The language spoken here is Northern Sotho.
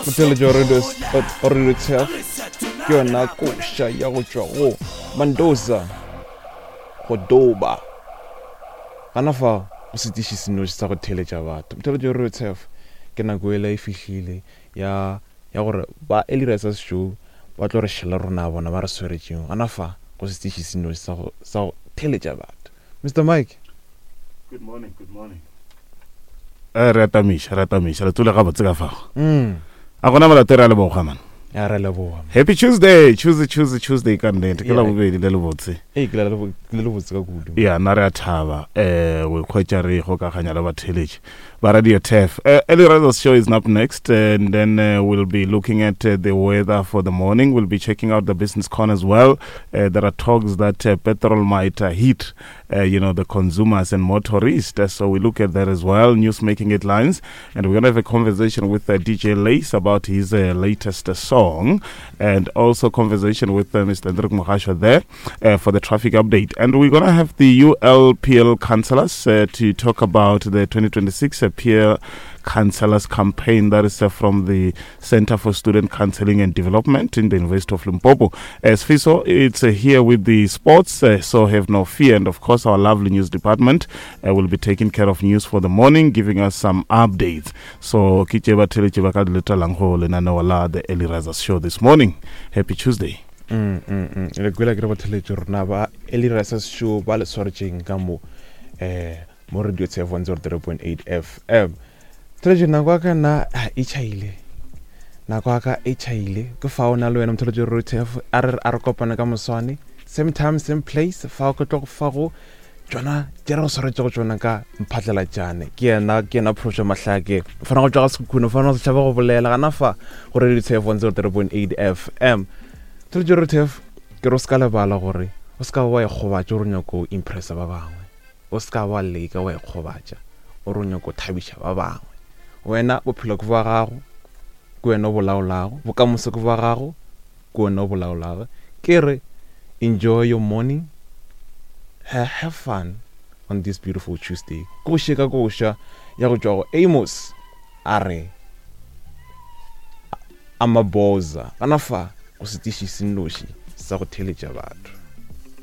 Motheletši wa Radio Radio Turf ke yona koša ya go tšwa go Mandoza go doba. Gana fa o setiši senoši sa go theeletša batho. Motheletši wa Radio Turf ke nako ela e fihlile ya ya gore ba Early Risers Show ba tlo re šela rona bona ba re swaretšeng gana fa go setiši senoši sa go sa go theeletša batho. Mr Mike. Good morning, good morning. Eh, re atamiša, re atamiša. Le tsole gabotse ka fago. Mm. A gona molato re a leboga man. Ya re leboga. Happy Tuesday, Tuesday, Tuesday, Tuesday ka nnete. Ke la bobedi le lebotse. Ee, ke la le lebotse ka kudu. Ya, nna re a thaba eh go ikhwetša re ikgokaganya le batheeletši ba Radio Turf. Uh, Early Risers show is up next and then we'll be looking at the weather for the morning. We'll be checking out the business corner as well. There are talks that petrol might hit you know, the consumers and motorists. So we look at that as well, news making headlines. And we're going to have a conversation with DJ Lace about his latest song, and also conversation with Mr. Hendrik Mogashoa there for the traffic update. And we're going to have the ULPL councillors to talk about the 2026 peer councillors campaign that is from the Center for Student Counseling and Development in the University of Limpopo. As FISO, it's here with the sports, so have no fear. And of course, our lovely news department will be taking care of news for the morning, giving us some updates. So, ke tše ba theletše ba ka di letalang go lenaneo la The Early Risers Show this morning. Happy Tuesday. Le kwela ke re batheletše rona ba Early Risers Show ba le swaretšeng ka mo eh mo radio tshefo 103.8 FM. Motholetšo nako ya ka nna e tšhaile nako ya ka e tšhaile ke fa o na le wena motholetšo rotef a re a re kopane ka moswane same time same place fa ke tlo go fa go tšona tše re go swaretšego tšona ka mphatlalatšane ke yena ke yena phrošo mahlake fana go tšwa ga sekhukhune fana go setšhaba go bolela gana fa go radio tshefo 103.8 FM motholetšo rotef ke re o se ka lebala gore o se ka wa ikgobatša o re nyako impressa ba bangwe O se ka wa leka wa ikgobatša o re o nyaka go thabiša ba bangwe. Wena bophelo ke bja gago, ke wena o bo laolago. Bokamoso ke bja gago, ke wena o bo laolago. Ke re enjoy your morning, have fun on this beautiful Tuesday. Koše ka koša ya go tšwa go Amos a re Amaboza gana fa go setiši se nnoši sa go theeletša batho.